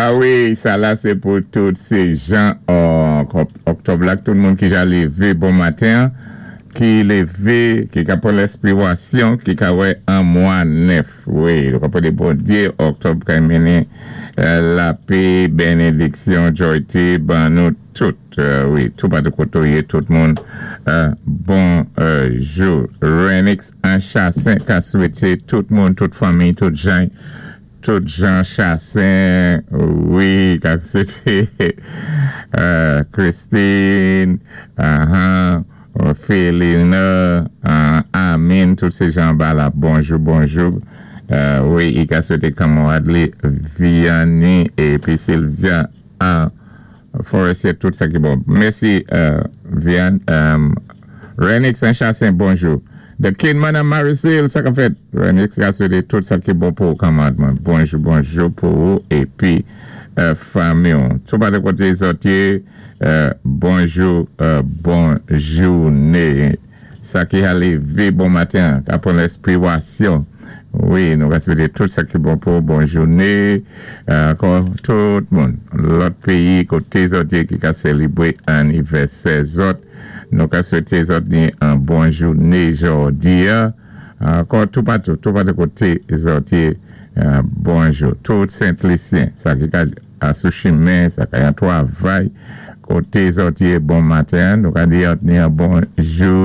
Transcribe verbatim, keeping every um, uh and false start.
Ah wi, sa la sé pou tout sé jan Òktòb la, tout moun ki ja lévé bon maten, ki lévé, ki ka pran lenspiwasyon, ki ka wè an mwa nèf. Wi, nou ka pwédé Bondyé, Òktòb ka mennen lapè, bénédiksyon, jwayté, ban nou tout. Wi, tout patou koto yé, tout moun. Bonjou. Renix an Chassin ka swété tout moun, tout fanmi, tout jan, tout jan Chassin, wi, ka swété Christine, Félina, Amin, tout sé jan ba la, bonjou, bonjou. Wi, i ka swété kanmarad li, Vianney, épi Sylvia, Forestier, tout sa ki bon. Mèsi, Vian, Renix an Chassin, bonjou. The Kidman an Marisil, sa ka fèt. Renix ka swété tout sa ki bon pou kanmarad mwen. Bonjou, bonjou pou ou, épi fanmi. Tout patou koté zòt yé, bonjou, bonjouné. Sa ki a lévé bon maten, ka pran lenspiwasyon. Wi, nou ka swété tout sa ki bon pou bonjouné. Ankò, tout moun. Lòt péyi koté zòt yé ki ka sélébwé annivèsè zòt. Nou ka swété zòt ni an bon jouné jòdi. Ankò, tout patou, tout patou koté zòt yé, bonjou. Tout Sent-Lisyen, sa ki ka sou chimen, sa ka yon twavay, koté zòt yé bon maten, nou ka di ni an bon jou.